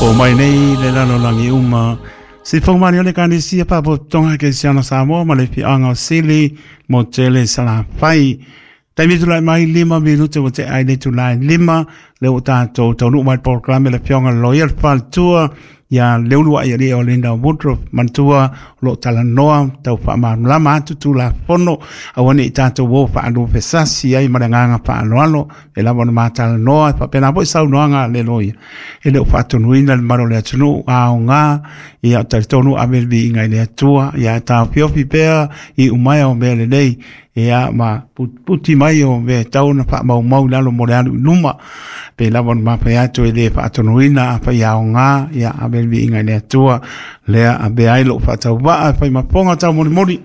Po mai nei le lalolagi uma. Sifoga malie o le Ekalesia Faalapotopotoga Kerisiano Samoa ma le Afioaga o Sili mo Tele Salafai. Taimi tulai mai 5 minute ua tea ai le itula e 5, lea ua tatou taunuu mai le polokalame le Afioga i le Loia le Faletua ia Leuluai Alii o Linda Woodruff manatua o lo o talanoa tau faamalamalama atu Tulafono aua ne i tatou o faalupesasi ai ma le agaga faaaloalo e lava ona matalanoa e faapena foi saunoaga a le loia e le o faatonuina le mamalu o le atunuu aoga ia talitonu ave le viiga i le Atua ia taofiofi pea i umaea o mea lelei ia ma putiputi mai o mea e tatau ona faamaumau i lalo mo le alu i luma. Pei lava ona mafai atu e le faatonuina afai aoga, ia ave le viiga i le Atua, lea avea ai lou faatauvaa e fai ma fofoga taumolimoli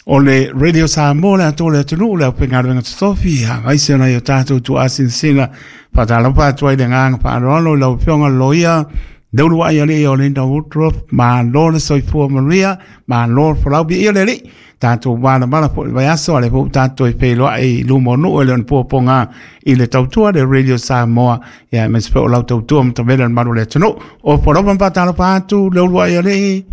o le Radio Samoa, le atoa o le atunuu, le aufaigaluega totofi, aemaise o nai o tatou tuaasinasina. Faatalofa atu ai le agaga faaaloalo i lau Afioga i le Loia Leuluai Alii o Linda Woodruff, malo le soifua manuia, malo le folau, viia le Alii. Tatou valavala foi i le vaiaso, a o lea foi ua tatou toe feiloai i luma o nuu e le o ni puapuaga i le tautua le Radio Samoa, ia aemaise foi o lau tautua matavela i le malu o le atunuu. Opo lava ma faatalofa atu Leuluai Alii.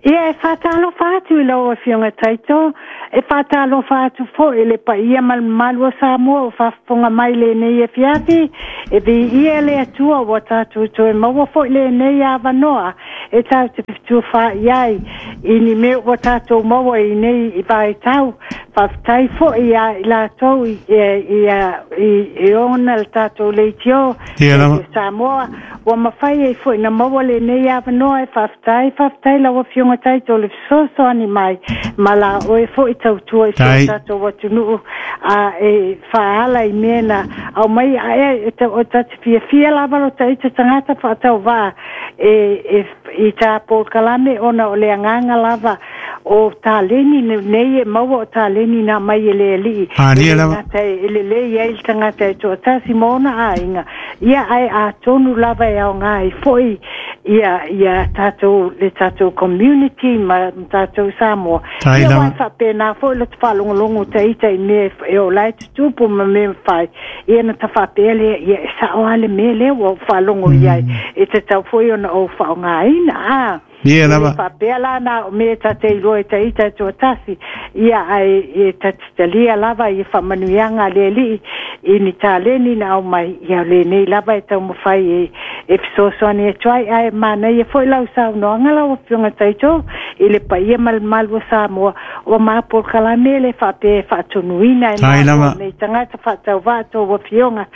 Ia, e faatalofa atu i lau Afioga Taito, e faatalofa atu foi i le paia ma le mamalu o Samoa o faafofoga mai i lenei afiafi. E viia le Atua ua tatou toe maua foi lenei avanoa e tatou te fetufaai ai i ni mea ua tatou maua i nei vaitau. Faafetai foi ia i latou i ona le tatou leitio i Samoa ua mafai ai foi na maua lenei avanoa. E faafetai, faafetai lau Afioga Taito le fesoasoani mai ma la oe foi tautua i si o tatou atunuu a e faaala i mea na aumai ae o ta te fiafia lava lo taita tagata faatauvaa e, e, i tā polokalame ona o le agaga lava o taleni nei e maua o taleni na mai e le Alii. Malie E le lava. gata e lelei ai le tagata e toatasi ma ona aiga, ia ae atonu lava e aoga ai foi ia, ia tatou, le tatou community ma tatou Samoa. Tai Ia, lava. aua e faapena foi lo te faalogologo ta ita i mea e ola e tutupu ma mea mafai. Ia na ta faapea lea, ia e sao lava le mea lea ua ou faalogo i ai, e tatau foi ona ou faaaogaina. A Ia e le lava. faapea la na o mea ta te iloa e ta ita e toatasi, ia ae e ta te talia lava i faamanuiaga a le Alii i ni taleni na aumai, ia o lenei lava e taumafai e e fesoasoani atu ai. Ae manaia foi lau saunoaga lau Afioga Taito i le paia ma le mamalu o Samoa o ma polokalame le faapea e faatonuina e Tai malo lava. nei tagata faatauvaa tou afioga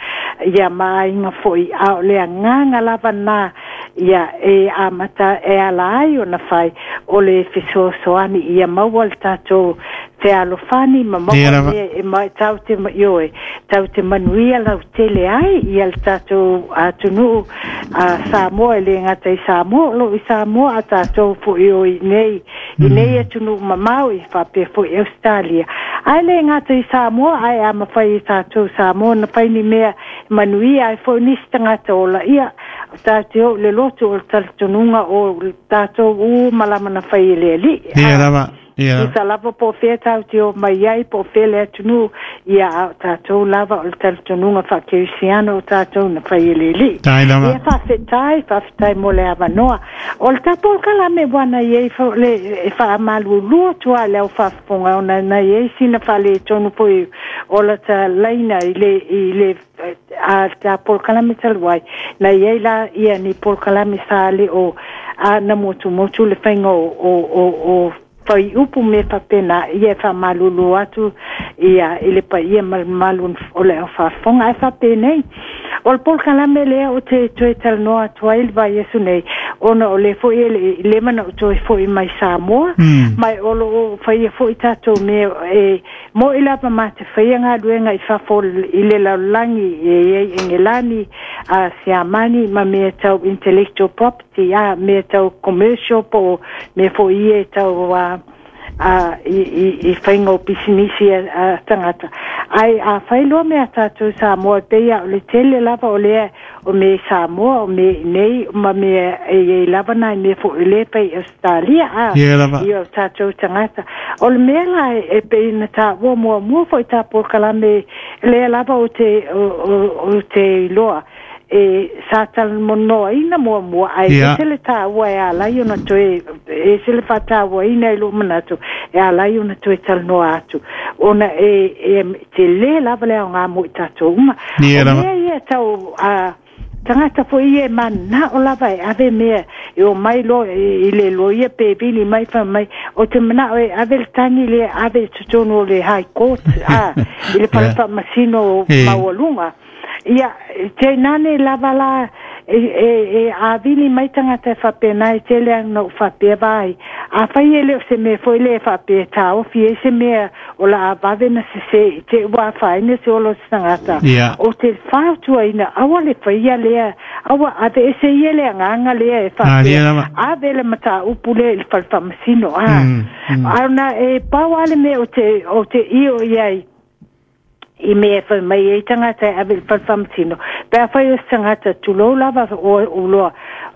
ia ma aiga foi, a o le agaga lava na ia e amata e ala ai ona fai o le fesoasoani ia maua le tatou fealofani ma Ia maua lava. mea e mai tau te ioe tau te manuia lautele ai ia le tatou atunuu a Samoa, e le gata i Samoa o loo i Samoa a tatou foi o i nei i nei atunuu mamao i faapea foi Australia, ae le gata i Samoa ae a mafai e tatou Samoa na fai ni mea manuia ai foi nisi tagata ola ia o tatou o le lotu o le talitonuga o le tatou u malama na fai e le Alii. Ia A lava. Ia lava. Tusa lava po o fea tatou te o mai ai po o fea le atunuu, ia a o tatou lava o le talitonuga faakerisiano o tatou na fai e le Alii. Tai lava. Ia faafetai, faafetai mo le avanoa. O le tapolokalame ua na i ai le e faamalulu atu lava i le au faafofoga ona na i ai sina faaletonu foi o lata laina i le i le a ta polokalame talu ai na i ai la ia ni polokalame sa le o a na motumotu le faiga o fai upu me faapena. Ia e faamalulu atu ia i le paia ma le mamalu o le au faafofoga. Ae faapenei o le polokalame lea o te toe talanoa atu ai le vaiaso nei ona o le foi e le i leva na ou toe foi mai Samoa mai o loo faia foi tatou mea e mo'i lava ma te faia galuega i fafo i le lalolagi e i ai Engelani a Siamani ma mea tau intellectual property, a mea tau commercial po o mea foi ia e tau a a i faiga o pisinisi a tagata. Ae a fai loa mea tatou Samoa e pei a o le tele lava o lea o mea i Samoa o mea i nei ma mea e i ai lava nai mea foi le pei Australia a Ia lava. i o tatou tagata. O le mea la e pei na taua muamua foi tā polokalame lea lava o te o te iloa E sa talanoaina muamua ae ese le taua e ala ai ona toe ese le faatauaina i lou manatu e ala ai ona toe talanoa atu ona e tele lava le aoga mo i tatou uma. O mea ia tau tagata foi ia e mananao lava e ave mea e omai loa i le loia pe vili mai fai mai ou te manao e ave le tagi lea ave i totonu o le High Court i le fale faamasino maualuga. Ia, tainane lava la e avili mai tagata e faapena e tele ana ou faapea vaai. Afai e le o se mea foi lea e faapea e taofi ai se mea o le a vave na sese i te i ua afaina se ola o se tagata, ou te fautuaina aua le faia lea, aua aveese ia le agaga lea e faapea ave le mataupu lea i le fale faamasino. A ona e pau lava le mea ou te io i ai, i mea e fai mai ai tagata e ave i le fale faamasino, pe afai o se tagata, tulou lava o loa,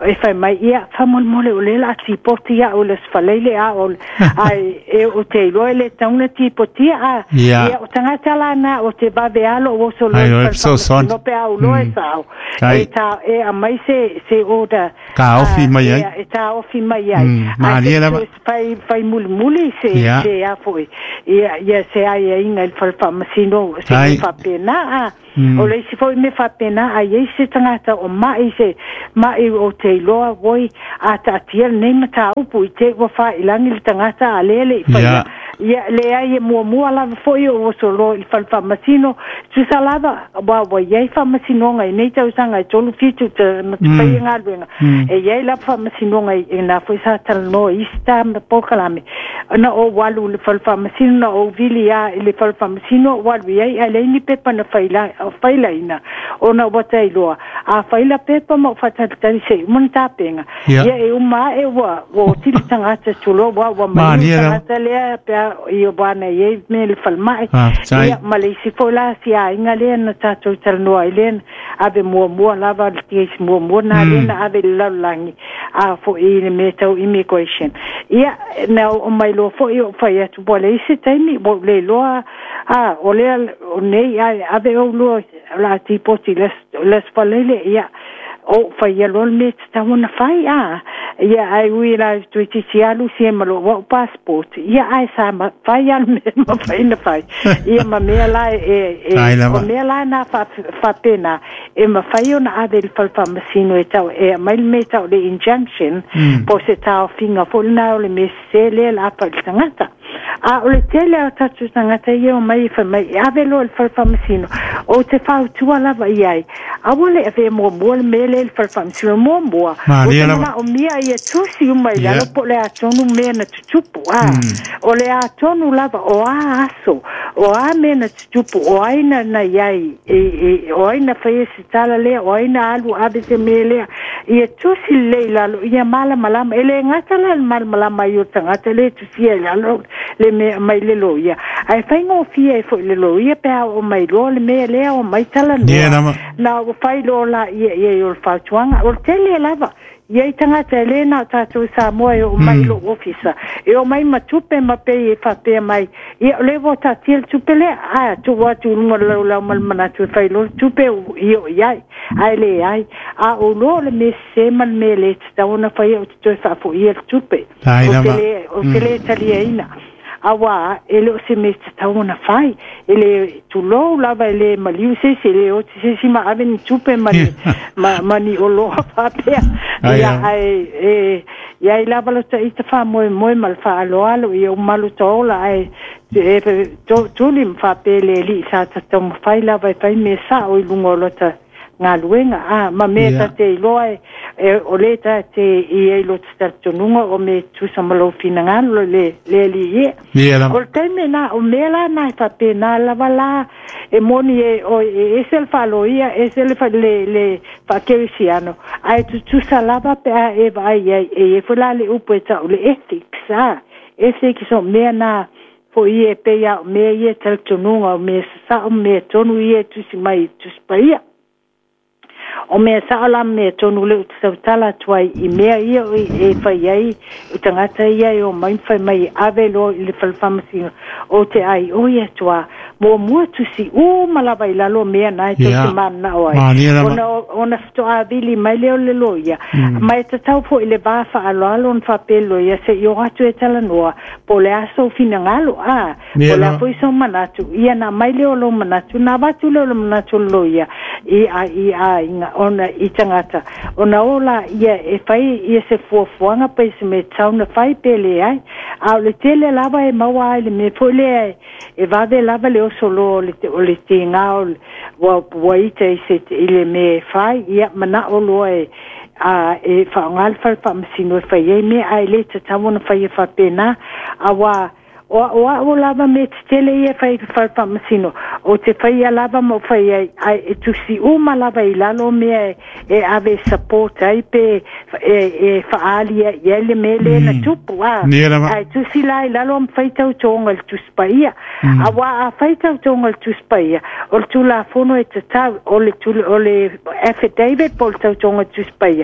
e fai mai, ia, faamolemole o lea o le a tipoti au i le Aso Faraile a o ai e ou te iloa e le tatau ona tipotia, a, ia, o tagata la na o te vave lava lou oso loa i le fale faamasino pe a ou loa e sao, e ta, e aumai se, se order, taofi mai ai, e taofi mai ai, ae fai, fai mulimuli se, se a foi, ia, ia se aiaiga i le fale faamasino, se mea faapena, a. O le isi foi mea faapena, a i ai se tagata o mai se mai o te iloa oi, a taatia lenei mataupu i te i ua faailagi le tagata a lea e le i faia. Ia, leai, e muamua lava foi ou oso loa i le fale faamasino, tusa lava, aua ua i ai faamasinoga i nei tausaga e 3 7 na te faia galuega, e i ai lava faamasinoga i na foi sa talanoa i isi ta polokalame, na ou alu i le fale faamasino, na ou vili lava i le fale faamasino ou alu i ai, ae leai ni pepa na failaina, ona ua ta iloa, a faila pepa ma ou faatalitali se i uma na tapena, ia e uma ae ua oti le tagata tulou, ua maliu le tagata lea pe a i ua ana i ai mea i le falemai. Ia ma le isi foi la si aiga lea na tatou talanoa ai lea na ave muamua lava le case muamua na lea na ave i le lalolagi a foi i le mea tau immigration. Ia na oo mai loa foi ou fai atu ua leai se taimi ua ou le iloa a o lea o nei ae ave ou loa o le a tipoti i le Aso Faraile ia ou faia loa le mea e tatau ona fai, a. Ia, ae ui la toeitiiti alu sie ma lou au passport, ia, ae sa fai lava le mea e mafai ona fai. Ia, ma mea la e, e, o mea la na faapena, e mafai ona ave i le fale faamasino e tau, e aumai le mea e tau o le injunction, po o se taofiga foi lena o le mea sese lea o le a fai i le tagata. A o le tele o tatou tagata ia omai e fai mai e ave loa i le fale faamasino, ou te fautua lava i ai, aua le avea muamua le mea lea i le fale faamasino muamua, ou te manaomia ia tusi uma i lalo po o le a tonu mea na tutupu, a o le a tonu lava o a aso, o a mea na tutupu, o ai na i ai, o ai na faia se tala lea, o ai na alu ave se mea lea, ia tusi lelei i lalo, ia malamalama. E le gata la le malamalama ai o le tagata lea e tusia i lalo le mea mai le loia, ae faigofie ai foi le loia pe a oo mai loa le mea lea omai talanoa, na ua fai loa laia i ai o le fautuaga. O le tele lava i ai tagata e le na o tatou i Samoa e oo mai i lou ofisa, e oo mai ma tupe ma pei e faapea mai, ia o lea ua taatia le tupe lea, a tuu atu i luga o le laulau ma le manatu e fai loa le tupe i oo i ai, ae leai. A ou loa o le mea sese ma le mea le tatau ona faia ou te toe faafoia le tupe. Ou te le taliaina. Auā, e le o se mea tatau ona fai. E le, tulou lava, e le maliu se isi, e le oti se isi ma ave ni tupe ma ni, ma, ma ni oloa faapea. Ia, ae, e, i ai lava lo ta ita faamoemoe ma le faaaloalo ia uma lo ta ola, ae e, to, tuli ma faapea le Alii sa ta taumafai lava e fai mea sao i luga o lota galuega, a, ma mea ta te iloa e, e, o le ta te i ai lo te talitonuga o mea tusa ma lou finagalo le, le Alii e. O le taimi na, o mea la na e faapena lava la, e moni e, o, e ese le faaloia, ese le, le, le faakerisiano, ae tutusa lava pe a e vaai ai, e i ai foi la le upu e tau le ethics, a, ethics o mea na, Foi e pei a o mea ia e talitonuga o mea sasao ma mea tonu ia e tusi mai i Tusi Paia. O mea sao la mea tonu le o te tautala atu ai i mea ia e fai ai o tagata ia e omai ma fai mai e ave loa i le fale faamasino o te ai oi atu a muamua tusi uma lava i lalo o mea na e tou te mananao ai ona ona faatoa vili mai lea o le loia ma e tatau foi i le va faaaloalo ona faapea le loia se i o atu e talanoa po o le a sou finagalo a po o le a foi sou manatu ia ona aumai lea o lou manatu ona avatu lea o le manatu o le loia i a i aiga ona i tagata ona o laia e fai ia se fuafuaga pe se mea tatau ona fai pe leai. A o le tele lava e maua ai le mea foi lea e vave lava le oso loa o le o le tiga o le ua ua ita i se i le mea e fai ia manao loa e a e faaaoga le fale faamasino e fai ai mea ae le tatau ona faia faapena auā O au au lava mea tetele ia e fai i le fale faamasino, ou te faia lava ma ou fai ai, ae e tusi uma lava i lalo mea e ave e support ai pe e faaali ai i ai le mea lea na tupu, a. Ae tusi la i lalo ma fai tautoga i le Tusi Paia. Aua a fai tautoga i le Tusi Paia, o le Tulafono e tatau, o le o le affidavit po o le tautoga i le Tusi Paia,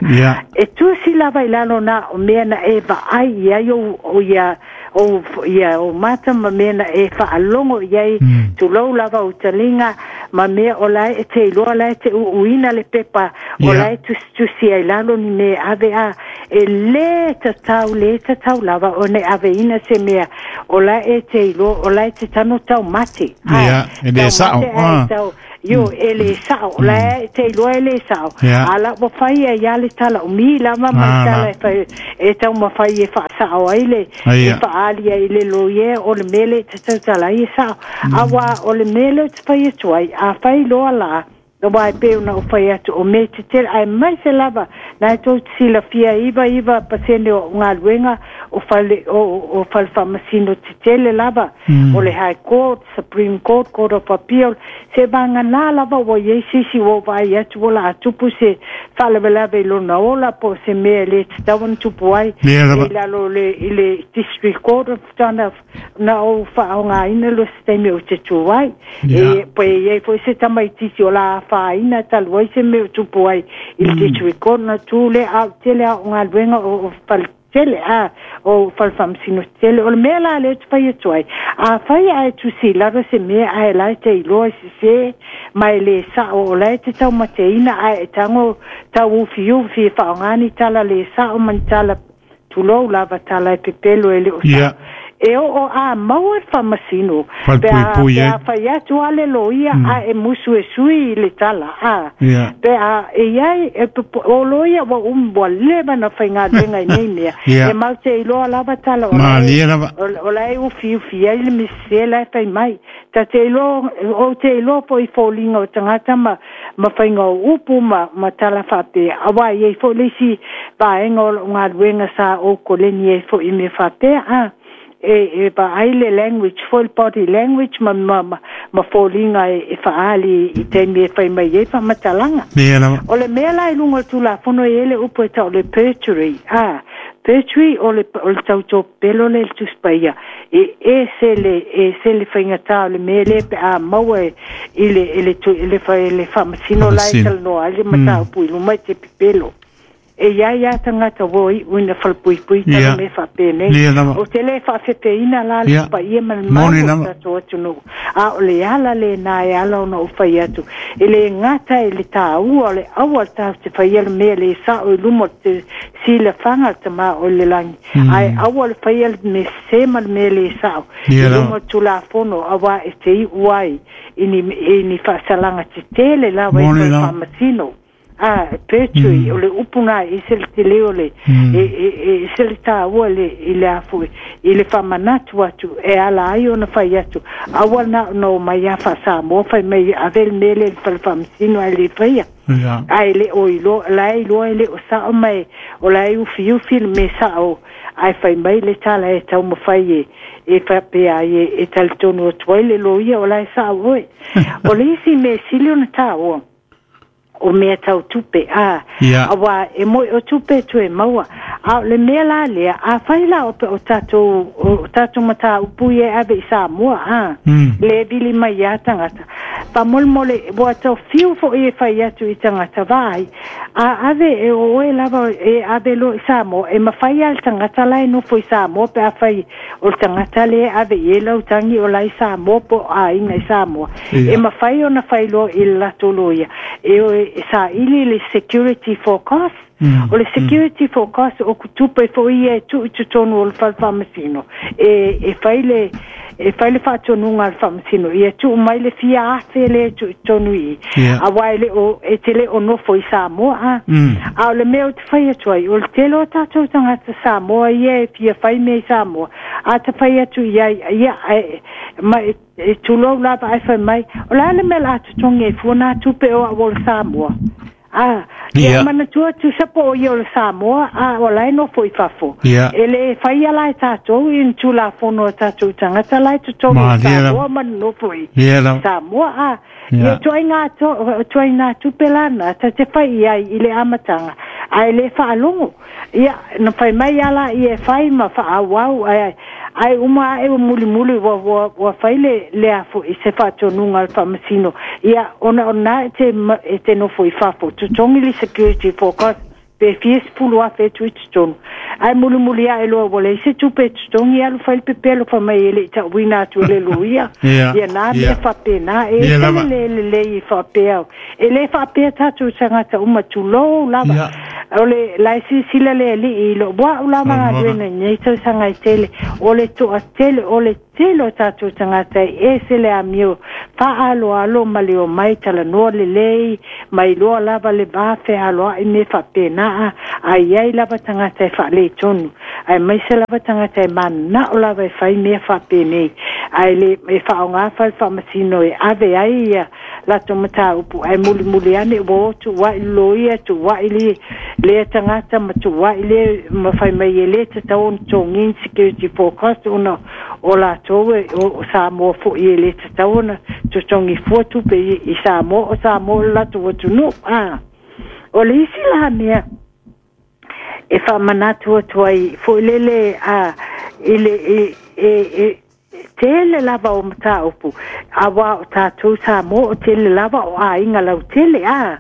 e tusi lava i lalo na o mea na e vaai i ai ou ia ou ia ou mata ma mea na e faalogo i ai, tulou lava ou taliga ma mea o la e te iloa la e te uuina le pepa o la e tusitusi ai lalo ni mea e ave a e lē tatau, lē tatau lava ona e aveina se mea o la e te iloa o la e te tano taumate. E lē sao. Taumate ae tau Io, e le sao, o la e te iloa e le sao. A la ua fai ai lava le tala umi lava ma le tala e fai e taumafai e faasao ai le e faaali ai i le loia o le mea lea e te tautala ai e sao. Auā o le mea lea ou te fai atu ai, a fai loa la, aua e pei ona ou fai atu, o mea tetele, aemaise lava na e tou te silafia e 99% o au galuega o fale o fale faamasino tetele lava, o le High Court, Supreme Court, Court of Appeal, se vagana lava ua i ai se isi ua ou vaai atu ua laa tupu se faalavelave i lona ola po o se mea e le tatau ona tupu ai i lalo i le District Court of Tana na ou faaaogaina loa se taimi ou te tu ai. E pe i ai foi se tamaitiiti o la afaina talu ai se mea o tupu ai i le District Court ona tu lea, a o le tele lava o galuega o fale tele a o fale faamasino tele. O le mea la lea ou te fai atu ai, afai ae tusi i lalo se mea ae la e te iloa e sesē ma e le sao o la e te taumateina ae e tago tauufiufi e faaaoga ni tala le sao ma ni tala tulou lava tala e pepelo e le o sao. E oo a maua le faamasino pe a pe a fai atu a le loia a e musu e sui i le tala a pe a e iai e o loia ua um ua leva na faigaluega i nei mea e mau te iloa lava tala o la e o la e ufiufi ai le misese la e fai mai ta te iloa ou te iloa foi i foliga o tagata ma ma faiga o upu ma ma tala faapea auā e iai foi le isi vaega o lou galuega sa ou koleni ai foi i mea faapea a e e vaai le language foi le body language ma ma ma foliga e e faaali i taimi e fai mai ai faamatalaga. O le mea la i luga o le Tulafono e i ai le upu e tau o le perjury a perjury o le o le tautopelo lea i le Tusi Paia e ese le ese le faigata o le mea lea pe a maua e i le i le i le i le faamasino la e talanoa ai le mataupu i luma i te pepelo. E i ai lava tagata ua iu ina falepuipui tala mea faapenei. Ou te le faafefeina la le paia ma le mamalu o le tatou atunuu, a o le ala lena e ala ona ou fai atu, e le gata i le taua o le aua tatou te faia le mea le sao i luma o te silafaga o le Tama o i le lagi, ae aua le faia le mea sese ma le mea le sao i luma o le Tulafono, auā e te iu ai i ni, i ni faasalaga tetele lava i toe faamasino. A, perjury, o le upu na e ese le tele o le, e, e, e ese le taua i le, i le a foi, i le faamanatu atu e ala ai ona fai atu, aua na ona omai lava faa-Samoa fai mai e ave le mea lea i le fale faamasino ae le faia. Ae le o iloa, la e iloa e le o sao ma e, o la e ufiufi le mea sao ae fai mai le tala e taumafai e, e faapea ai e, e talitonu atu ai le loia o la e sao oe. O le isi mea sili ona taua, o mea tau tupe, a, auā e moe o tupe e toe maua. A o le mea la lea, afai la o, o tatou, o tatou mataupu ia e ave i Samoa, a, le vili mai ia tagata, Faamolemole ua tau fiu foʻi e fai atu i tagata vaai a ave e o oe lava e ave loa i Samoa e mafai a le tagata la e nofo i Samoa pe afai o le tagata lea e ave i ai lau tagi o la i Samoa po o aiga i Samoa e mafai ona fai loa i le latou loia e o e saili le security for cost. O le security for cost o tupe foi ia e tuu i totonu o le fale faamasino e fai le e fai le faatonuga a le faamasino ia tuu mai le fia afe lea e tuu i totonu i i auā e le o e te le o nofo i Samoa a a o le mea ou te fai atu ai o le tele o tatou tagata Samoa ia e fia fai mea i Samoa a ta fai atu i ai ia ae ma e tulou lava ae fai mai o le a le mea o le a totogi ai fua nā tupe o au o le Samoa. A, ia manatua tusa po o ia o le Samoa, a o la e nofo i fafo. E le faia la e tatou i ni Tulafono a tatou tagata la e totonu i Samoa ma nofo i Samoa. A, ia tuaiga tuaiga tupe la na ta te fai i ai i le amataga, ae le faalogo. Ia, na fai mai a la ia e fai ma faaauau, ae ae uma ae ua mulimuli ua ua ua fai le le a foʻi se faatonuga a le faamasino ia ona o lena e te e te nofo i fafo totogi le security for cost pe fia sefulu afe e tuu i totonu ae mulimuli ae loa ua leai se tupe e totogi alu fai le pepelo fai mai e le i tauina atu e le loia ia na mea faapena e ese le le lelei e faapea e le faapea tatou tagata uma tulou lava o le la e silasila le alii i lou au lava galuega i lenei tausaga e tele o le toatele o le tele o tatou tagata e ese le amio faaaloalo ma le omai talanoa lelei ma iloa lava le va fealoai me faapena a i ai lava tagata e faaletonu aemaise lava tagata e mananao lava e fai mea faapenei ae le e faaaoga fale faamasino e ave ai ia latou mataupu ae mulimuli ane ua o tuuai le loia tuuai le lea tagata ma tuuai le ma fai mai e le tatau ona totogi ni security for cost ona o latou e o Samoa foi e le tatau ona totogi fua tupe i Samoa o Samoa o le latou atunuu. A o le isi la mea e faamanatu atu ai foi lele a i le e tele lava o mataupu auā o tatou Samoa o tele lava o aiga lautele a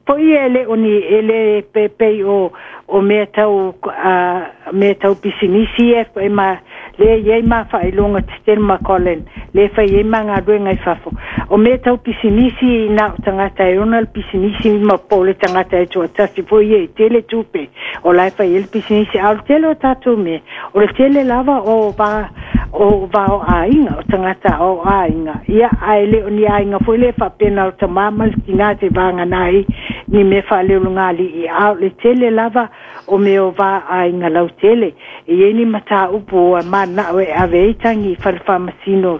foi e le o ni e le pei o o mea tau a mea tau pisinisi ia e ma lea e i ai ma faailoga tetele ma Colin lea e fai ai ma galuega i fafo. O mea tau pisinisi na o tagata e ona le pisinisi ma po o le tagata e toatasi foi ia e tele tupe o la e fai ai le pisinisi. A o le tele o tatou mea, o le tele lava o va o va o aiga, o tagata o aiga. Ia, ae le o ni aiga foi lea faapea na o le tamā ma le tinā te vagana ai ni mea faaleologalii, a o le tele lava o mea o va aiga lautele. E i ai ni mataupu ua mananao e ave ai tagi i fale faamasino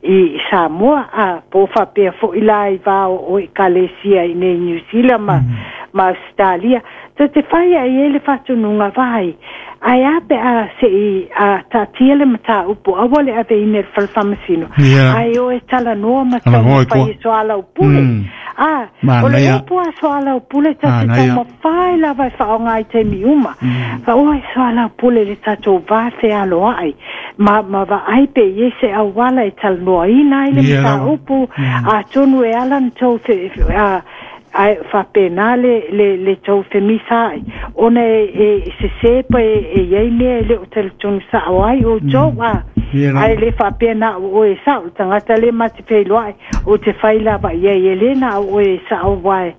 i Samoa, a po o faapea foi la i va o Ekalesia i nei Niu Sila ma ma Ausetalia, tou te fai ai ai le faatonuga vai. Ae a pe a se i a taatia le mataupu, aua le aveina i le fale faamasino, ae o e talanoa ma taumafai e soalaupule. A, o le upu a soalaupule ta te taumafai lava e faaaoga i taimi uma. Fa oi soalaupule le tatou va fealoai ma ma vaai pe i ai se auala e talanoaina ai le mataupu, atonu e ala ona tou fe a ae faapena le le le tou femisaai ona e e sesē pa e e i ai mea e le o talitonu sao ai outou a ae le faapea na o oe e sao le tagata le ma te feiloai ou te fai lava i ai e le na o oe e sao uae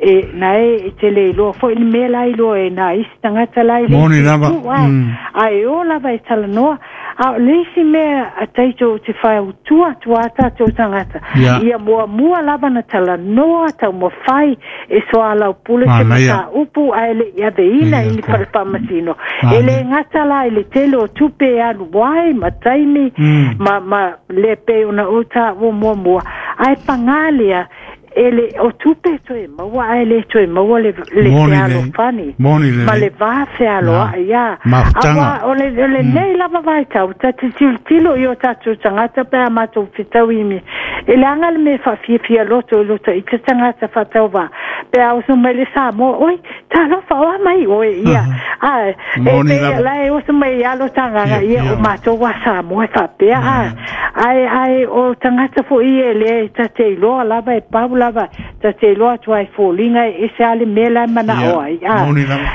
e na e e te le iloa foi le mea la iloa e nā isi tagata la i le Moni isi lava. itu a ae o lava e talanoa. A o le isi mea a tatou te faautua atu a tatou tagata, ia muamua lava na talanoa taumafai e soalaupule se mataupu ae le i aveina i ni fale faamasino. E le gata la i le tele o tupe e alu ai ma taimi ma ma le pei ona ou taua muamua, ae pagā lea e le o tupe e toe maua ae le toe maua le le fealofani ma le va fealoai a aua o le o lenei lava vaitau ta te tilotilo i o tatou tagata pe a matou fetau i mea e leaga le mea faafiafia loto i loto i te tagata faatauvā pe a oso mai le Samoa oi talofa o a mai oe ia A e pe la e oso mai alo tagaga ia o matou a Samoa e faapea a ae o tagata fo'i e lē ta te iloa lava e pau lava ta te iloa atu ai foliga e ese a le mea la e mana'o ai a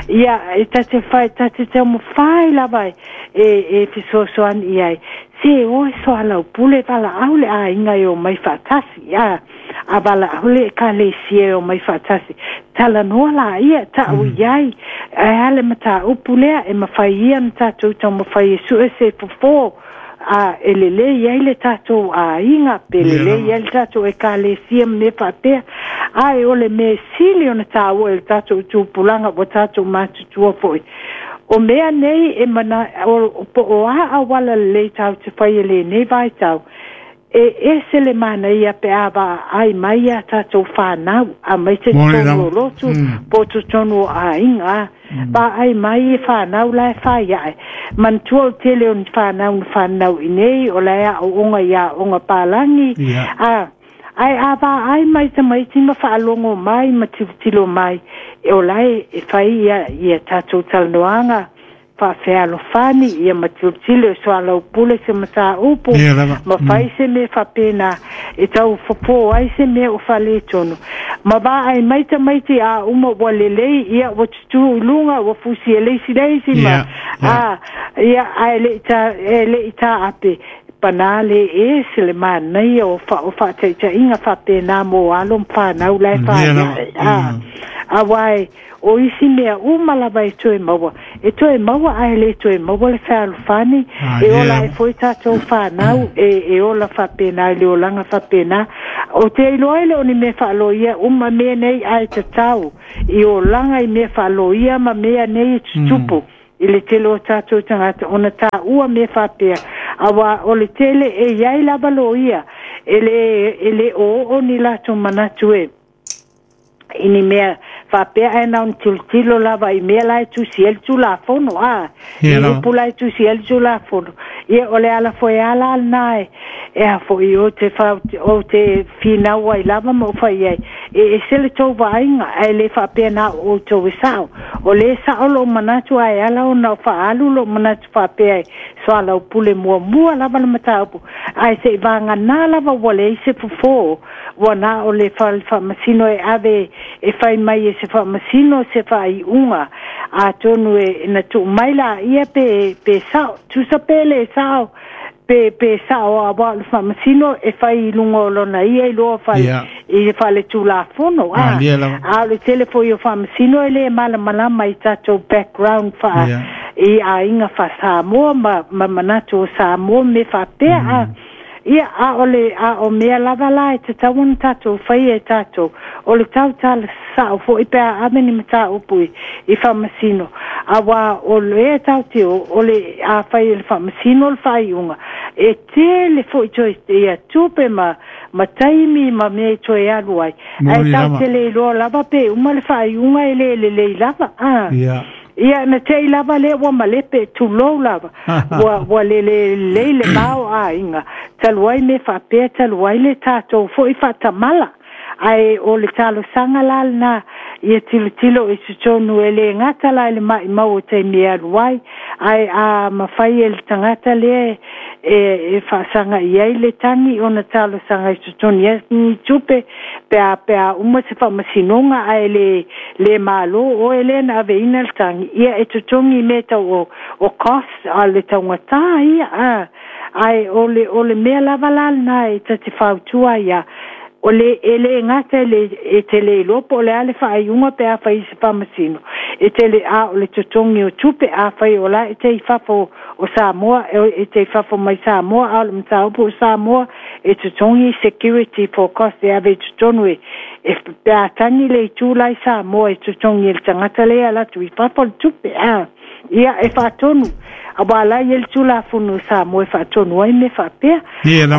ia e tate fai tate taumafai lava e fesoasoani i ai se o e soalaupule valaau le aiga e o mai faatasi a a valaau le ekalesia e o mai faatasi talanoa laia ta'u i ai ae a le mataupu lea e mafai ia na tatou taumafai e su'e se fofō a e lelei ai le tatou aiga pe lelei ai le tatou ekalesia ma mea faapea ae o le mea sili ona tāua i le tatou tupulaga ua tatou matutua fo'i o mea nei e mana o po o a auala lelei tatou te fai e lenei vaitau e ese le manaia pe a vaai mai ia tatou fanau a mai se totonu o lotu po o totonu o aiga vaai mai e fanau la e fai ae manatua o tele o ni fanau na fanau i nei o la e aooga i aoga palagi a ae a vaai mai tamaiti ma faalogo mai ma tilotilo mai e o la e fai ia tatou talanoaga faafealofani ia ma tilotilo e soalaupule se mataupu ma fai se mea faapena e tau fofō ai se mea o faaletonu ma vaai mai tamaiti a uma ua lelei ia ua tutū i luga ua fusi e leisi leisi ma a ia ae le'i taape pana le ese le manaia o faataitaiga faapena mo alo ma fanau la e faiae a auae o isi mea uma lava e toe maua ae lē toe maua le fealofani e ola ai foi tatou fanau e ola faapena i le olaga faapena o te iloa ai le o ni mea faaloia uma mea nei ae tatau i olaga i mea faaloia ma mea nei e tutupu i le tele o tatou tagata ona tāua mea faapea auā o le tele e iai lava loia e lē oo ni latou manatu e i ni mea faapea ae na ona tilotilo lava i mea la e tusi ai le tulafono a i upu la e tusi ai le tulafono ia o le ala foi ala lena e a fo'i o te finau ai lava ma ou fai ai e ese le tou vaaiga ae lē faapea na o outou e sa'o o lē sa'o lo'u manatu ae ala ona faaalu lo'u manatu faapea e soalaupule muamua lava le mataupu ae se'i vaganā lava ua leai se fofō ua na o le faamasino e ave e fai mai e se faamasino se faaiuga atonu e na tuu mai laia pe sa'o tusa pe lē sa'o pe sa'o auā o le faamasino e fai i luga o lona ia iloa i faale-tulafono a a o le tele foi o faamasino e lē malamalama i tatou background faa i aiga faa-Samoa ma manatu o Samoa me faapea a ia a o le a o mea lava la e tatau ona tatou faia e tatou o le tautala sa'o fo'i pe a ave ni mataupu i faamasino auā o lea tatou te o le a fai e le faamasino le faaiuga e tele fo'i toe ia tupe ma taimi ma mea e toe alu ai ae tatou te le iloa lava pe uma le faaiuga e lē lelei lava a ia na tei lava lea ua malepe tulou lava ua lelelei le mao aiga talu ai me faapea talu ai le tatou fo'i faatamala ae o le talosaga la lena ia tilotilo i totonu e lē gata la i le maʻimau o taimi e alu ai ae a mafai e le tagata lea e faasaga i ai le tagi ona talosaga i totonu ia ni tupe pe a uma se faamasinoga ae lē mālō oe lea na aveina le tagi ia e totogi mea tau o cost a le taugatā ia a ae o le mea lava la lena e tate fautua ia o le e lē gata e te lē iloa po o le a le faaiuga pe a fai i se faamasino e tele a o le totogi o tupe a fai o la e te i fafo o Samoa e te i fafo mai Samoa a o le mataupu o Samoa e totogi security for cost e ave i totonu e pe a tagi le itu la i Samoa e totogi e le tagata lea alu atu i fafo le tupe a ia e faatonu auā la ia le tulafono o Samoa e faatonu ai mea faapea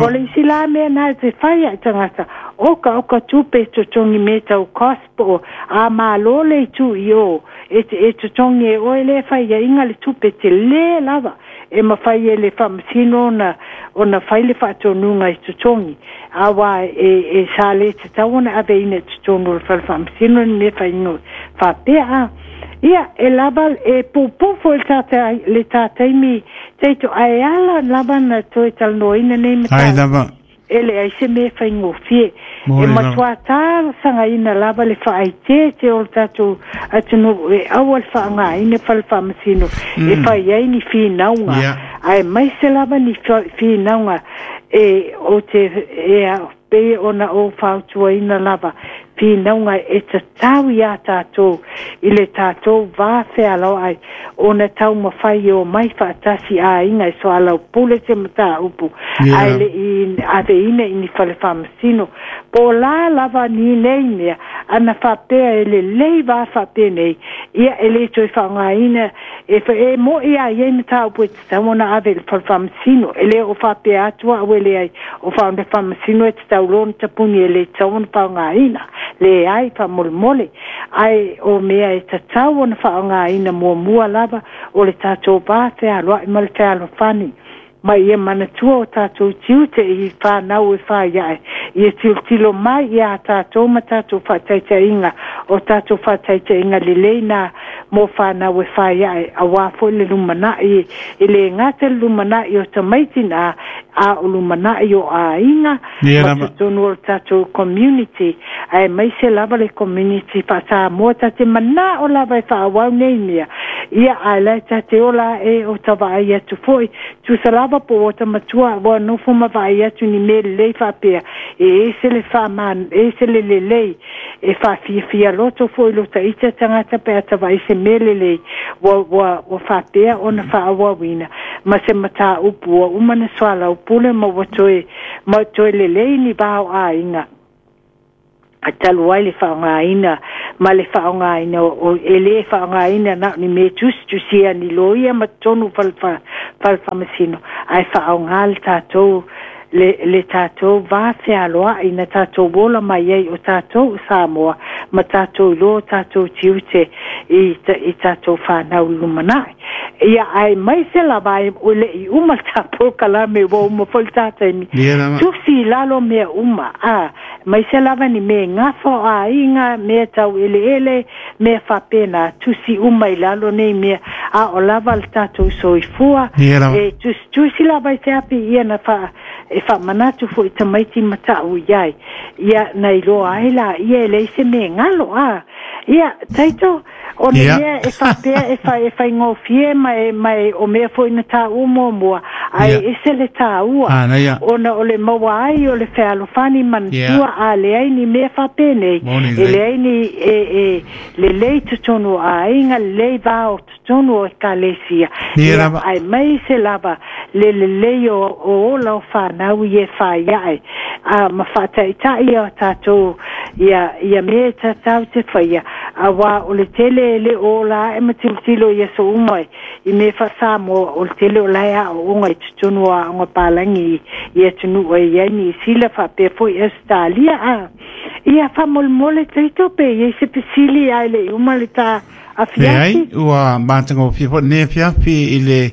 o le isi la mea na e te fai ae tagata oka tupe e totogi mea tau cost po a mālō le itu i o e totogi e oe lea faiaiga le tupe telē lava e mafai e le faamasino ona fai le faatonuga i totogi auā e sa lē tatau ona aveina i totonu o le fale faamasino ni mea faiga faapea a Ia e lava e pupu foi le tataimi teito ai ala lava na toe talanoaina nei mataupu. E leai se mea faigofie. E matua talosagaina lava le faaiteete o le tatou atunuu e aua le faaaogaina fale faamasino e fai ai ni finauga. Ae maise lava ni finauga e o te e pei ona ou fautuaina lava finauga e tatau iā tatou i le tatou va fealoai ona taumafai e omai faatasi aiga e soalaupule se mataupu ae le'i aveina i ni fale faamasino po o la lava ni nei mea ana faapea e lelei va faapenei ia e lē toe faaaogaina e e mo'i a iai mataupu e tatau ona ave i le fale faamasino e lē o faapea atu a'u e leai o fale faamasino e tatau loa ona tapuni e lē tatau ona faaaogaina leai faamolemole ae o mea e tatau ona faaaogaina muamua lava o le tatou va fealoai ma le fealofani ma ia manatua o tatou tiute i whānau e whai ia tilotilo mai iā tatou ma tatou faataitaiga o tatou faataitaiga lelei na mo whānau e whai ae auā foi le lumanai e le gata le lumanai o tamaiti na a o lumanai o aiga ma totonu o le tatou community aemaise lava le community faa-Samoa ta te mana'o lava e faaauau nei mea ia ae lae ta te ola e o ta vaai atu foi tusa lava po ua ta matua ua nofo ma vaai atu ni mea lelei faapea e ese le faama ese le lelei e faafiafia loto foi lo taita tagata pe a ta vaai se mea lelei ua ua ua faapea ona faaauauina ma se mataupu ua uma na soalaupule ma ua toe ma toe lelei ni va o aiga a talu ai le faaaogaina ma le faaaogaina o e lē faaaogaina na o ni mea tusitusia ni loia ma totonu fale faamasino ae faaaoga le tatou le tatou va fealoai na tatou ola mai ai o tatou Samoa ma tatou iloa o tatou tiute i tatou whanau lumanai. Ia aemaise lava ai o le'i uma le ta polokalame ua uma foi le ta taimi. Tusi i lalo mea uma, a, maise lava ni mea gafa o aiga, mea tau eleele, mea faapena, tusi uma i lalo nei mea, a o lava le tatou soifua, e tusitusi lava i se api ia na wha, e faamanatu foi tamaiti ma ta'u i ai. Ia na iloa ai laia e leai se mea galo, a. Ia, Taito, o le mea e faapea e whai e whaingofie ma e, ma e o mea foi na tāua muamua, ae ese le tāua, ona o le maua ai o le fealofani manatua a leai ni mea faapenei, e leai ni e, e lelei totonu o aiga, lelei va o totonu o ekalesia. Ia, aemaise lava le lelei o ola o whanau i e whai ae. A ma whaataitai o tātou ia mea e tatau te whaia. Auā o le tele e le o la e ma tilotilo i aso uma i mea faa-Samoa o le tele o la e aoaoga i totonu o aoga palagi i atunuu e i ai Niu Sila faapea foi Ausetalia. A ia faamolemole Taito pe i ai se fesili ae le i uma le ta afiafi. Leai, ua matagofie foi lenei afiafi i le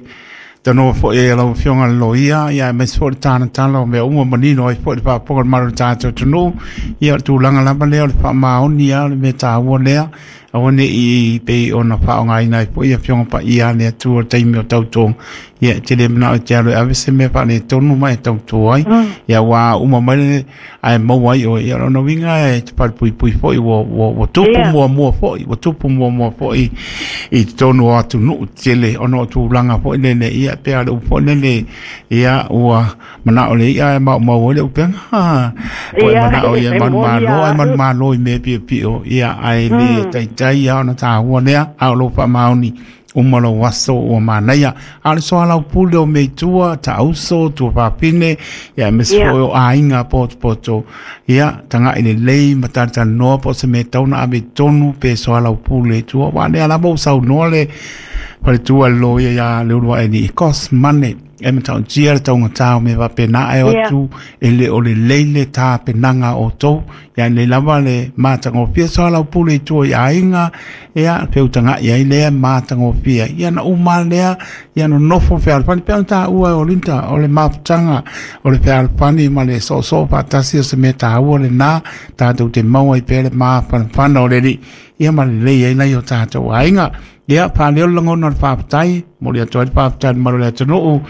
tanoa foi e lau Afioga i le Loia, ia aemaise foi le talatala o mea uma manino ai foi le faafofoga a le mamalu o le tatou atunuu. Ia o le tulaga lava lea o le faamaoni lava o le mea taua lea, aua ne i pei ona faaaogaina ai foi Afioga Paia a le Atua i le taimi o tautoga. Ia e te le manao e te alu e ave se mea faaletonu ma e tauto ai. Ia ua uma mai le ae maua ai oe. Ia o lona uiga e te palupuipui foi ua, ua, ua tupu muamua foi, ua tupu muamua foi i totonu o atunuu tetele ona o tulaga foi lele, ia pei lava o le upu foi lele, ia ua manao le i'a ae maumau ai le upega. Ua e manao ia e manumalo, ae manumalo i mea piopio, ia ae le taitai lava ona taua lea, a o lou faamaoni uma lou aso ua manaia. A o le soalaupule o mea i tua, taauso, tuafafine, ia aemaise foi o aiga potopoto, ia taga'i lelei ma talatalanoa po o se mea e tatau ona ave i totonu pe soalaupule i tua. Aua o lea lava ua saunoa le faletua i le loia ia Leuluaealii, e cost money. E matautia le taugata o mea faapena ae o atu e le o lelei le tapenaga a outou. Ia lelei lava le matagofie soalaupule i tua i aiga, ia feutagai ai lea matagofie. Ia na uma lava lea, ia nonofo fealofani pei ona taua e Olinda, o le mafutaga o le fealofani ma le soosoo faatasi o se mea taua lena, tatou te maua ai pea le mafanafana o le Alii, ia ma lelei ai nai o tatou aiga. Ia, faaleo le lagona o le faafetai, momoli atu ai le faafetai i le mamalu o le atunuu,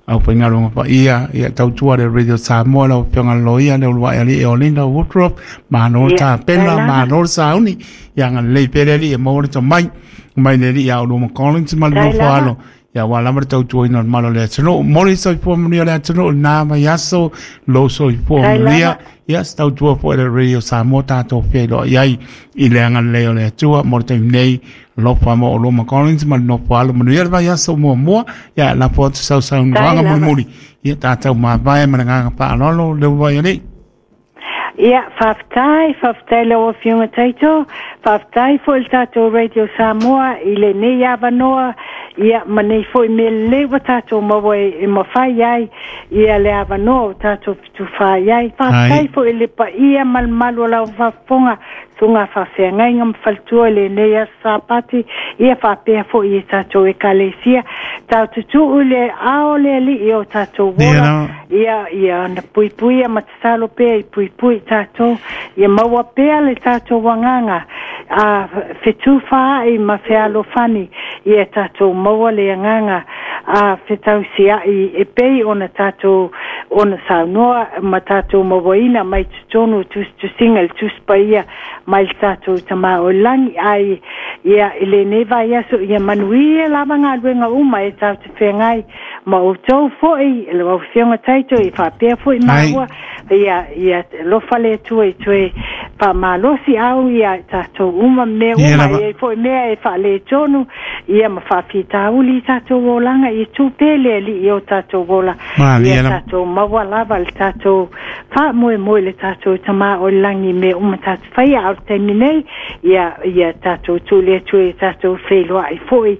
aufaigaluega paia, ia tautua le Radio Samoa, lau Afioga i le Loia, le Uluai Alii Olinda Woodruff, malo le tapena, malo le sauni, ia agalelei pea le Alii e maua le tomai mai le Alii ia Uluma Collins ma le nofo alo, ia aua lava le tautuaina o le mamalu o le atunuu. Momoli le soifua manuia o le atunuu i lena vaiaso, lou soifua manuia, ia se tautua foi a le Radio Samoa tatou feiloai ai i le agalelei o le Atua mo le taimi nei. Alofa mo Oloma Collins ma le nofo alo manuia le vaiaso muamua, ia lafo atu sau saunoaga mulimuli, ia tatou mavae ma le agaga faaaloalo le uluai alii. Ia, faafetai, faafetai lau Afioga Taito, faafetai foi le tatou Radio Samoa i lenei avanoa, ia ma nei foi mea lelei ua tatou maua e mafai ai ia le avanoa o tatou fetufaai ai. Faafetai foi i le paia ma le mamalu o lau faafofoga, susuga faafeagaiga ma faletua i lenei aso Sapati, ia faapea foi i tatou Ekalesia. Tatou tuutuu i le ao o le Alii o tatou ola, ia, ia ona puipuia ma tatalo pea i puipui i tatou, ia maua pea le tatou agaga a fetufaai ma fealofani, ia tatou maua le agaga a fetausiai e pei ona tatou ona saunoa ma tatou mauaina mai totonu o tusitusiga i le Tusi Paia mai le tatou Tama o i Lagi. Ai ia i lenei vaiaso ia manuia lava galuega uma e tatou te feagai ma outou foi lau Afioga Taito i faapea foi maua ia ia alofa le Atua i toe faamalosi au ia tatou uma mea uma e ai foi mea e faaletonu ia ma faafitauli i tatou olaga ia tu pea le Alii i o tatou ola ia tatou maua lava le tatou faamoemoe i le tatou Tama o i Lagi i mea uma tatou faia a o le taimi nei ia ia tatou tuu le Atua ia tatou feiloai foi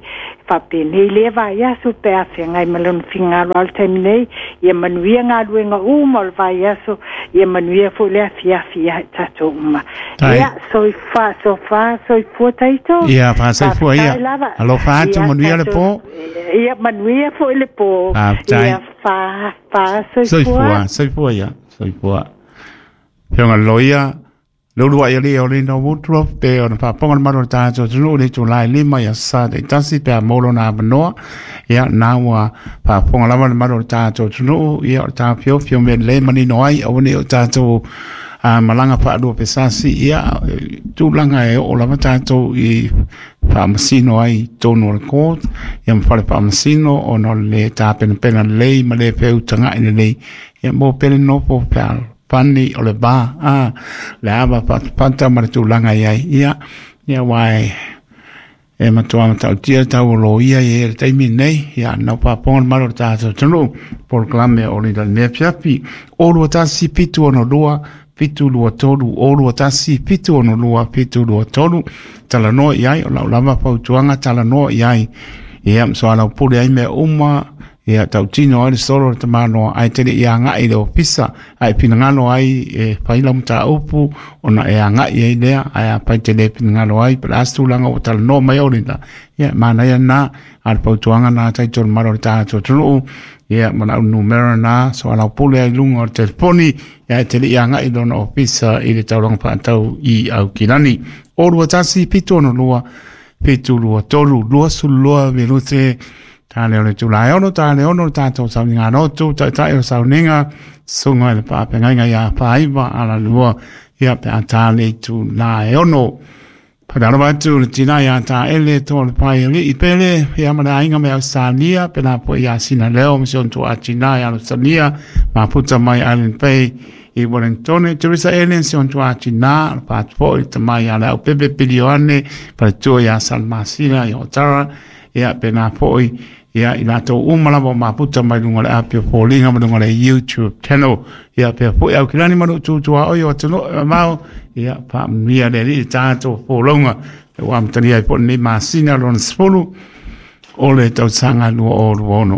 faapenei lea vaiaso pe a feagai ma lona finagalo a o le taimi nei ia manuia galuega uma o le vaiaso ia manuia foi le afiafi ia tatou uma. Ia soifua sofa soifua Taito. Ia faasoifua ia. Alofa atu manuia le po. Ia manuia foi le po. Ia fa fa soifua. Soifua soifua ia soifua. Fioga loia le uluai alii o Linda Woodruff pe ona faafofoga le malu o le tatou atunuu i le itula e 5 i aso Sa taitasi pe a maua lona avanoa. Ia, na ua faafofoga lava le malu o le tatou atunuu, ia o le taofiofi o mea lelei manino ai, aua ne i o tatou malaga faalua pesasi, ia tulaga e oo lava tatou i faamasino ai i totonu o le court, ia ma fale faamasino ona o le le tapenapena lelei ma le feutagai lelei, ia mo pele nofo fealofani o le va, le ava fatafata ma le tulaga i ai, ia, ia aua e matua matautia le tau o loia i le taimi nei, ia nau faafofoga le malu o le tatou atunuu, polokalame o le mea fiafi, o 21 762 723, o 21 762 723, talanoa i ai, o lau lava fautuaga talanoa i ai, ia soalaupule ai mea uma, ia tautino ai le solo o le tamaloa, ae te le i agai i le ofisa, ae finagalo ai e fai lau mataupu, ona e agai ai lea, ae afai te le finagalo ai, pe le a se tulaga ua talanoa mai Olinda, ia manaia lena, a o le fautuaga lena taito le mamalu o le tatou atunuu, ia ma lau numera lena, soalaupule ai i luga o le telefoni, ia ae te le i agai i lona ofisa i le taulaga faatau i Aukilani. O 21 762 723 22 minute Tā leo le tula e ono, tā le ono le tātou sauniga lotu, taitai o sauniga, sunga i le paapengaiga ia whaiva ala lua, ia pe a tā le tula e ono. Whakarawa atu le tina ia tā ele tō le pai ali i pele, ia ma le ainga me Australia, pe nā po ia sina leo, me se on tō a tina ia Australia, ma puta mai Island Bay, i Wellington, Teresa Ellen se on tō a tina, le pātu i te mai a le au pepe pili o ane, pale tua ia Salmasila i Otara, ia pe nā foi ia i latou uma lava o maputa mai luga o le api o foliga ma luga o le YouTube channel ia pea foi au kilani ma lou tutuaoi o atunuu e mamao ia faamanuia le Alii i le tatou folauga ua amatalia ai foi lenei masina lona 10 o le tausaga 2026.